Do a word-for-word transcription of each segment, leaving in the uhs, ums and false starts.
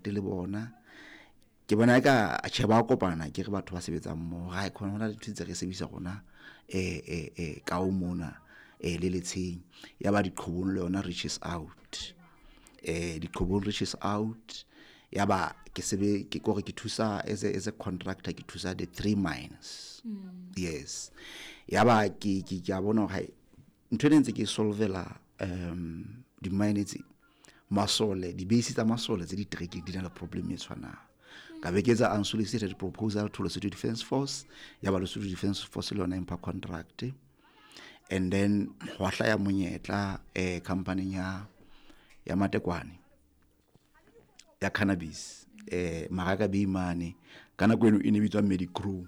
le bona. Ke bona ka tjhe ba kopana ke re batho ba sebetsang mmoho. Ha khona hona le ntho tse re sebedisa rona eh eh eh ka o mona eh le letsheng. Ya ba diqhobong le yona reaches out. Eh diqhobong reaches out. Ya ba ke sebe ke kore ke thusa as a, as a contractor ke thusa the three mines. Mm. Yes. Ya ba ke ke ke a bona hore ntho ena ntse ke solvela um di mine tse masole di base tsa masole tse di trekeng di na le problem e tshwanang. Ka be ke etsa unsolicited proposal to Lesotho Defence Force, ya ba Lesotho Defence Force le yona e mpha contract. And then hwa hlaya monyetla eh company ya ya Matekwane ya cannabis eh Maraka Bay mane ka nako eno e ne bitswa Medicrew,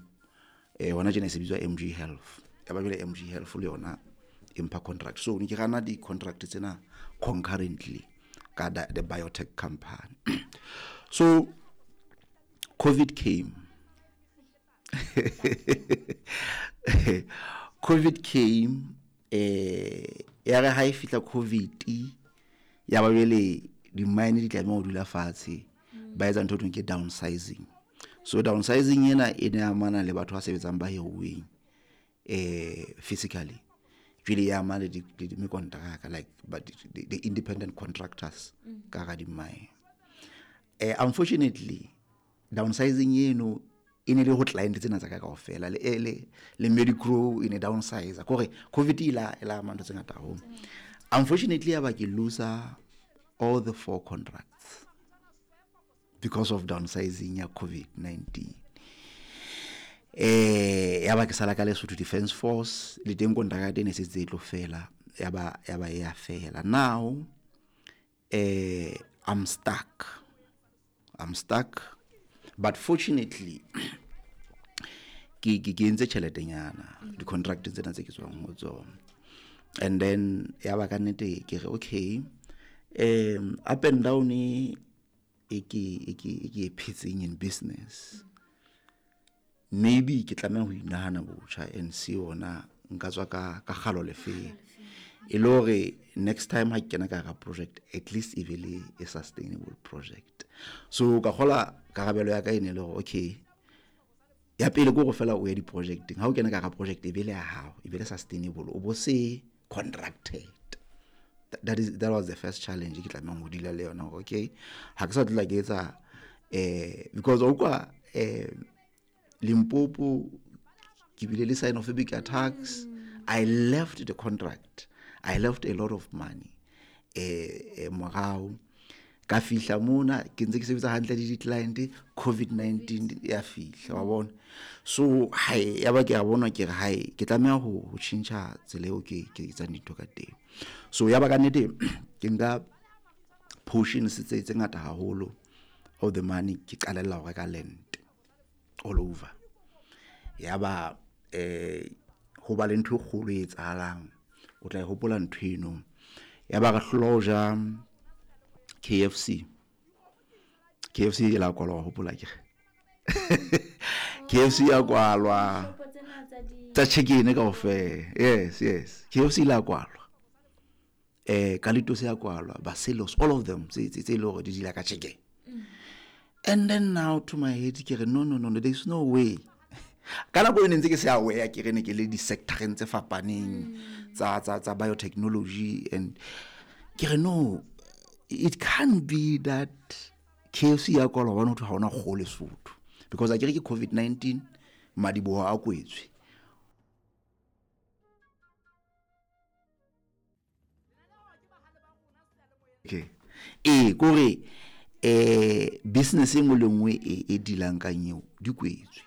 eh hona tjena e se bitswa M G Health. Ya ba jwale M G Health le yona e mpha contract. So ne ke rana di contract tsena concurrently ka the, the biotech company. So COVID came. COVID came, eh ya re ha e fihla COVID ya ba jwale di mine di tlameha ho dula fatshe, ba etsa ntho e thweng ke downsizing. So downsizing ena e ne amana le batho ba sebetsang ba hiruweng eh physically. Jwale ya ama le di, di, di mekontraka, like but the, the independent contractors Mm. ka hara di mine. Eh unfortunately downsizing eno e ne le ho client tsena tsa ka kaofela le, le, le Medicrew e ne downsize kore COVID e la, e la ama ntho tse ngata haholo. Unfortunately ya ba ke lose all the four contracts because of downsizing ya COVID nineteen. Eh ya ba ke sala ka Lesotho Defence Force le teng kontraka ya teng e setse e tlo fela, ya ba, ya ba e ya fela. Now eh I'm stuck. I'm stuck. But fortunately ke, ke, ke entse tjheletenyana di contract tsena tse ke tswang ho tsona. And then ya ba ka nnete ke re okay, um up and down e ke, e ke, e ke e phetseng in business. Maybe ke tlameha ho inahana botjha and see ona nka tswa ka, ka kgalo lefeng. E le hore next time ha ke kena ka hara project at least e be le a sustainable project. So ka kgola karabelo ya ka e ne le hore okay, ya pele ke hore fela o ye di-projecteng. Ha o kena ka hara project e be le ya hao, e be le sustainable, o bo se contracted. That, that is, that was the first challenge ke tlamehang ho deala le yona hore okay, ha ke sa tla ke etsa, eh, because o kwa, eh, Limpopo ke bile le xenophobic attacks. I left the contract. I left a lot of money. Eh, eh, morao ka fihla mona ke ntse ke sebetsa hantle le di-client, COVID nineteen ya fihla, wa bona. So hai, ya ba ke a bona ke re hai, ke tlameha ho, ho tjhentjha tsela eo ke, ke etsang dintho ka teng. So ya ba ka nnete ke nka portions tse, tse ngata haholo of the money ke qalella ho reka land all over. Ya ba, eh, ho ba le ntho e kgolo e etsahalang, o tla e hopola ntho eno. Ya ba re hlola ho ja K F C. K F C e la kwalwa, wa hopola ke re? K F C ya kwalwa. Dishopo tsena tsa di- Tsa chicken kaofela. Yes, yes. K F C e la kwalwa. Eh, Kalitos ya kwalwa, Basilos, all of them tse, tse, tse le hore di dila ka chicken. Mm. And then now to my head ke re no, no, no, no, there is no way. Ka nako eno ntse ke se aware ke re ne ke le di-sectoreng tse fapaneng Mm. tsa, tsa, tsa biotechnology and ke re no, it can't be that K F C ya kwalwa hobane ho thwe ha hona kgoho Lesotho. Because a ke re ke COVID nineteen, madiboho a kwetswe. Okay. Eh, kore, eh, business e nngwe le nngwe e, e dealang ka eo, di kwetswe.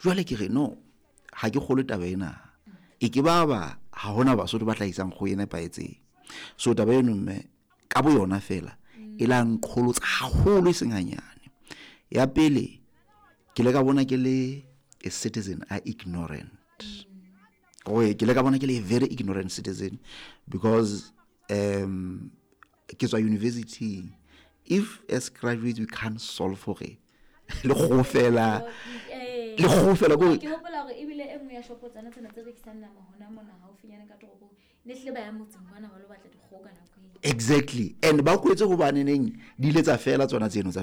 Jwale ke re no, ha ke kgolwe taba ena. E ke ba ba ha hona Basotho ba hlahisang kgoho e nepahetseng. So taba eno mme ka bo yona fela e la nqholotsa haholo e seng hanyane. Ya pele ke le ka bona ke le a citizen a ignorant. Oe, ke le ka bona ke le a very ignorant citizen because, um, ke tswa university. If as graduates we can't solve for it, le kgoho fela, Le kgoho fela ko Ke hopola hore ebile e nngwe ya shopo tsana tsena tse rekisang nama hona mona haufinyane ka toropong, ne hlile ba ya motseng kwana ba lo batla dikgoho ka nako eo. Exactly, and ba kwetse hobaneneng di ile tsa fela tsona tseno tsa.